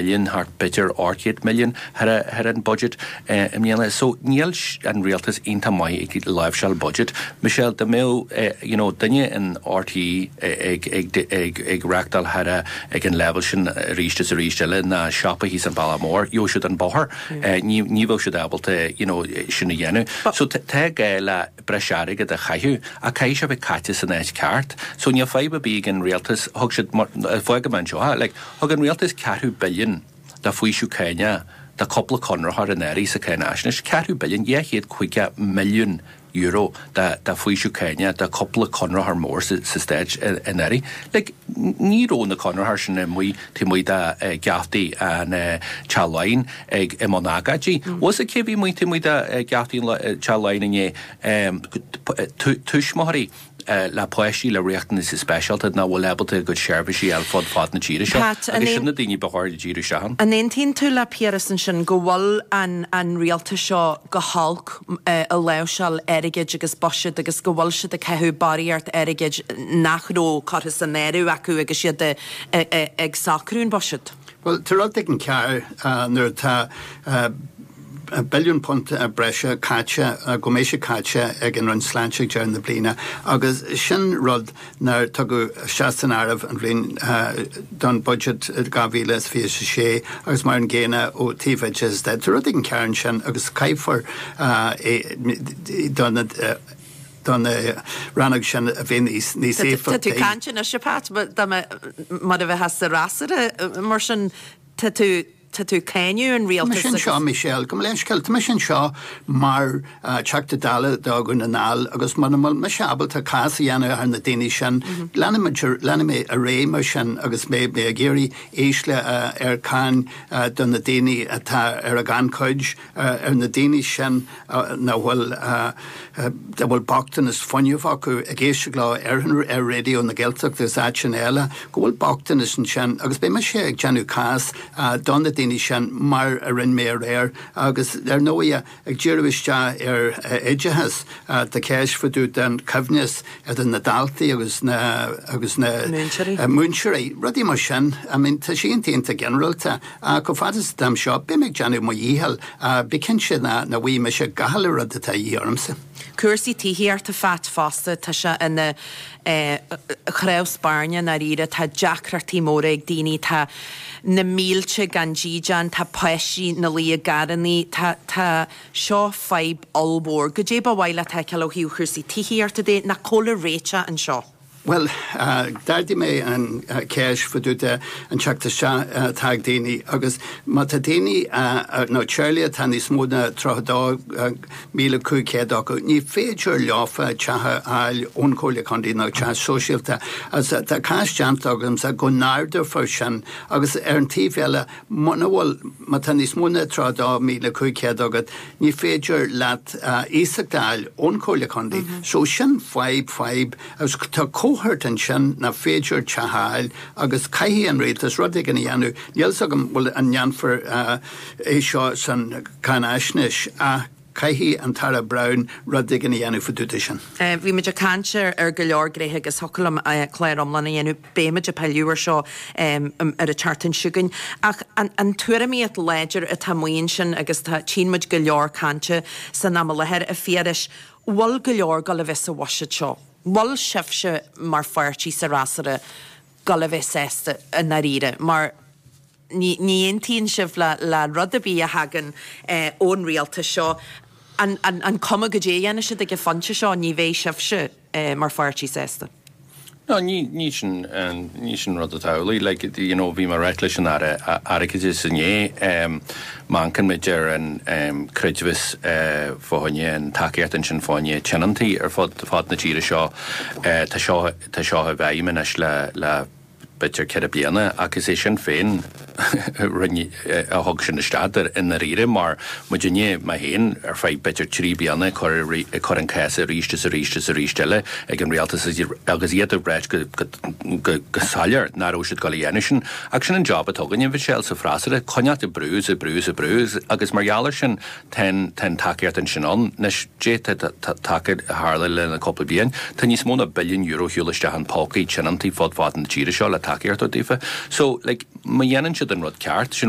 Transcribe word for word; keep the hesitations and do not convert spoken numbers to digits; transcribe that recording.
milliún thart b'fhéidir ocht gcéad milliún thar an budget i mbliana. So níl an rialtas iontach maith ag láimhseáil budget. Michelle dá mbeadh you know, duine in RTÉ ag, ag, ag, ag reachtáil thar ag an level sin arís is arís eile ná siopa thíos an Bealach Mór, gheobhaidh siad an bóthar ní ní bheadh siad ábalta you know, sin a dhéanamh. So tá gá le breis airgead a chaitheamh a caithfidh sé bheith caite san áit ceart. So níl fadhb ar bith ag an rialtas thug siad fág man seo like, thug an rialtas ceathrú billiún de faoiseamh cáin do cúpla conraitheoir in éirí sa cáinaisnéis ceathrú billiún dhá chéad caoga milliún euro de de faoiseamh cáin do cúpla conraitheoir mór sa, sa stát in éirí. Like, ní raibh na conraitheoirí sin amuigh taobh amuigh de gheaftaí an Teach Laighean ag i mbun agóidí. Was cé bhí amuigh taobh amuigh de gheaftaí an Teach Laighean inné tuismitheoirí le páistí le riachtanais speisialta nach bhfuil ábalta a gcuid seirbhísí ar fud fad na tíre seo. Agus sin na daoine ba chóir díriú isteach ann. An aontaíonn tú le Piaras ansin go bhfuil an, an rialtas seo go holc i láimhseáil airgid agus buiséad agus go bhfuil siad ag caitheamh barraíocht airgid nach raibh curtha san áireamh acu agus siad ag socrú an buiséad? Well, tá rud éigin cearr nuair atá billiún punt breise caite go mbeidh sé caite ag an Roinn Sláinte ag deireadh na bliana agus sin rud nár tugadh isteach san áireamh an bhliain don budget dhá mhíle is fiche sé agus mar an gcéanna ó taobh oideachais de. Tá rud éigin cearr ansin agus caithfear don don rannóg sin a bheith níos níos éifeachtaí. Tá tú caint anois Pat mar a bheith sa fhreasúra mar sin tá tú tá tú cáineadh an rialtas sin seo Michelle, go leiscéil Tá sin seo mar Teachta Dála do Dhún na nGall agus mar bhfuil mise ábalta cás a dhéanamh ar na daoine sin leanfaidh mé ar aghaidh mar sin agus mé mé ag iarraidh ísle ar cáin do na daoine atá ar a gannchuid ar na daoine sin nach bhfuil a bhfuil bochtanas fuinnimh acu ag éisteacht leo ar ar Raidió na Gaeltachta agus áiteanna eile go bhfuil bochtanas ansin agus beidh mise ag déanamh cás do na daoine sin mar a rinne mé aréir agus ar ndóigh ag díriú isteach ar oideachas tá ceist fá dtaobh den choibhneas idir na daltaí agus na agus na múinteoirí rudaí mar sin I mean tá sé iontach ginearálta chomh fada is atá seo beidh mé ag déanamh mo dhícheall bí cinnte ná na bhfuil mise gach uile rud atá dhíth ormsa. Cúrsaí tithíochta Phat fosta tá sé ina chnámh spairne dáiríre tá deacrachtaí móra ag daoine tá na mílte gan dídean tá páistí ina luí i gcarrannaí tá tá seo fadhb ollmhór. Goidé ba mhaith leat a fheiceáil ó thaobh chúrsaí tithíochta de nach cóla réiteach anseo. Well, d'ardaigh mé an ceist fá dtaobh de an teacht isteach atá ag daoine agus má tá daoine nó teaghlaigh atá níos mó ná tríocha dó míle cúig chéad acu, ní féidir leofa teach a fháil ón Chomhairle Contae nó teach sóisialta. Agus tá cás déanta agamsa go n-ardófar sin agus ar an taobh eile muna bhfuil má tá níos mó ná tríocha dó míle cúig chéad agat, ní féidir leat iasacht a fháil ón Chomhairle Contae. So sin fadhb fadhb agus tá cohort ansin nach féidir teach a fháil agus caithfidh an rialtas rud éigin a dhéanamh. Níl fhios agam bhfuil an ndéanfar é seo san cáinaisnéis ach caithfidh an tAire Browne rud éigin a dhéanamh fá dtaobh de sin. Bhí muid ag caint ar go leor gnéithe agus thiocfadh liom clár iomlán a dhéanamh beimid ag pilleadh ar seo ar an tseachtain seo chugainn. Ach an tuairimíocht láidir atá amuigh ansin agus tá tchíonn muid go leor cainte san am i láthair a Phiarais, bhfuil go leor ag gabháil a bheith sa bhuiséad seo. Bhfuil sibhse mar pháirtí sa fhreasúra ag gabháil a bheith sásta i ndáiríre mar ní aontaíonn sibh le le rud ar bith a thagann ón rialtas seo an an an cuma goidé a dhéanfaidh siad ag an phointe seo ní bheidh sibhse mar pháirtí sásta. No, ní ní sin ní sin rud atá amhlaidh like you know bhí mé ag ráit leis an Aire Airgeadais inné um, mancann muid ar an um, creidmheas uh, fá choinne an tacaíocht ansin fá choinne tionóntaí ar fud fad na tíre seo uh, tá seo tá seo i bhfeidhm anois le le b'fhéidir ceithre bliana agus é sin féin rinne a thug sin isteach i ndáiríre mar muidinne mé féin ar feadh b'fhéidir trí bliana cur cur an cás arís is arís is arís eile ag an rialtas agus iad ag ráit go go go soiléir nach raibh siad ag gabháil a dhéanamh sin ach sin an job atá againne Michelle sa bhfreasúra coinneáil ag brú is ag brú is ag brú agus mar gheall air sin tá tá an tacaíocht ansin ann anois taca tharla le na cúpla bliain tá níos mó ná billiún euro shiúil isteach in pócaí tionóntaí fud fad na tíre seo le tacaíocht daofa. So like má dhéanann siad an rud ceart sin rud